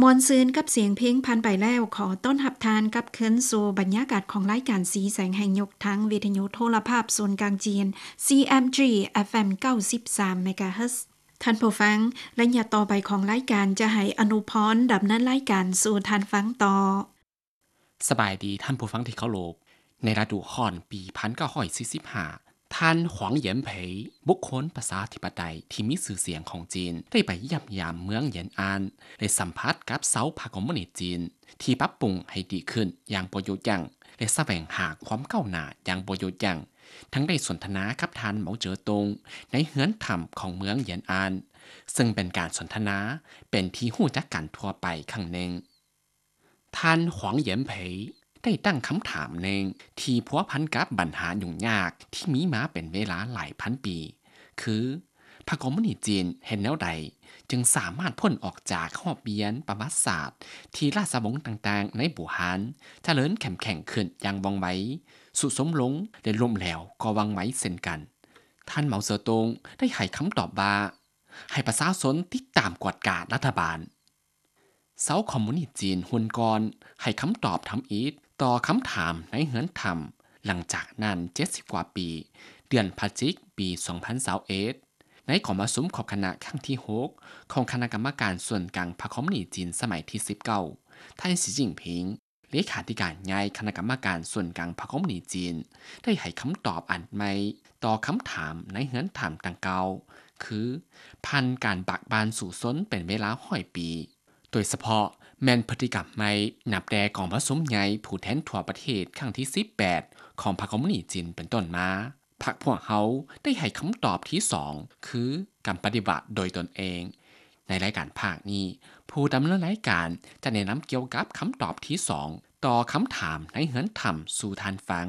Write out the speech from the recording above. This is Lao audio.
ມ່ວນຊື່ນກັບສຽງເພງຜ່ານໄປແລ້ວ, ຂໍຕ້ອນຮັບທ່ານກັບຄືນສູ່ບັນຍາກາດຂອງລາຍການສີແສງແຫ່ງຍຸກ ທາງວິທະຍຸໂທລະພາບສູນກາງຈີນ CMG FM ເກົ້າສິບສາມ MHz. ທ່ານຜູ້ຟັງ, ໄລຍະຕໍ່ໄປຂອງລາຍການຈະໃຫ້ອະນຸພອນດຳເນີນລາຍການສູ່ທ່ານຟັງຕໍ່. ສະບາຍດີທ່ານຜູ້ຟັງທີ່ເຄົາລົບ. ໃນລະດູຮ້ອນປີພັນເກົ້າຮ້ອຍສີ່ສິບຫ້າ ທ່ານ ຫວັງ ເຫຢັນເຜີຍ ບຸກຄົນປະຊາທິປະໄຕທີ່ມີຊື່ສຽງຂອງຈີນ ໄດ້ໄປຢ້ຽມຢາມເມືອງເຫຢັນອານ ແລະ ສຳຜັດກັບຊາວພັກຄອມມູນິດຈີນ ທີ່ປັບປຸງໃຫ້ດີຂຶ້ນຢ່າງບໍ່ຢຸດຢັ້ງ ແລະ ສະແຫວງຫາຄວາມກ້າວໜ້າຢ່າງບໍ່ຢຸດຢັ້ງ, ທັງໄດ້ສົນທະນາກັບທ່ານ ເໝົາເຈີຕົງ ໃນເຮືອນຖ້ຳຂອງເມືອງເຫຢັນອານ, ເຊິ່ງເປັນການສົນທະນາເປັນທີ່ຮູ້ຈັກກັນທົ່ວໄປຄັ້ງໜຶ່ງ. ທ່ານ ຫວັງ ເຫຢັນເຜີຍ ໄດ້ຕັ້ງຄຳຖາມໜຶ່ງທີ່ພົວພັນກັບບັນຫາຫຍຸ້ງຍາກທີ່ມີມາເປັນເວລາຫຼາຍພັນປີ, ຄື ພັກຄອມມູນິດຈີນເຮັດແນວໃດຈຶ່ງສາມາດພົ້ນອອກຈາກຮອບປ່ຽນປະຫວັດສາດທີ່ລາຊະວົງຕ່າງໆໃນບູຮານຈະເລີນເຂັ້ມແຂງຂຶ້ນຢ່າງວ່ອງໄວ, ຊຸດໂຊມລົງ ແລະ ລົ້ມແຫຼວກໍວ່ອງໄວເຊັ່ນກັນ? ທ່ານ ເໝົາເຈີຕົງ ໄດ້ໃຫ້ຄຳຕອບວ່າ ໃຫ້ປະຊາຊົນຕິດຕາມກວດກາລັດຖະບານ. ຊາວຄອມມູນິດຈີນຮຸ່ນກ່ອນໃຫ້ຄຳຕອບທຳອິດຕໍ່ຄຳຖາມໃນເຮືອນຖ້ຳ ຫຼັງຈາກນັ້ນເຈັດສິບກວ່າປີ, ເດືອນພະຈິກ ປີສອງພັນຊາວເອັດ ໃນກອງປະຊຸມຂອບຄະນະຄັ້ງທີຫົກ ຂອງຄະນະກຳມະການສ່ວນກາງພັກຄອມມູນິດຈີນສະໄໝທີສິບເກົ້າ, ທ່ານ ສີຈິ້ນຜິງ ເລຂາທິການໃຫຍ່ຄະນະກຳມະການສ່ວນກາງພັກຄອມມູນິດຈີນ ໄດ້ໃຫ້ຄຳຕອບອັນໃໝ່ຕໍ່ຄຳຖາມໃນເຮືອນຖ້ຳດັ່ງກ່າວ, ຄື ຜ່ານການບາກບັ່ນສູ້ຊົນເປັນເວລາຮ້ອຍປີ, ໂດຍສະເພາະແມ່ນພຶດຕິກຳໃໝ່ນັບແຕ່ກອງປະຊຸມໃຫຍ່ຜູ້ແທນທົ່ວປະເທດຄັ້ງທີສິບແປດ ຂອງພັກຄອມມູນິດຈີນເປັນຕົ້ນມາ. ພັກພວກເຮົາໄດ້ໃຫ້ຄຳຕອບທີສອງ ຄື ການປະຕິວັດໂດຍຕົນເອງ. ໃນລາຍການພາກນີ້, ຜູ້ດຳເນີນລາຍການຈະແນະນຳກ່ຽວກັບຄຳຕອບທີສອງ ຕໍ່ຄຳຖາມໃນເຮືອນຖ້ຳສູ່ທ່ານຟັງ.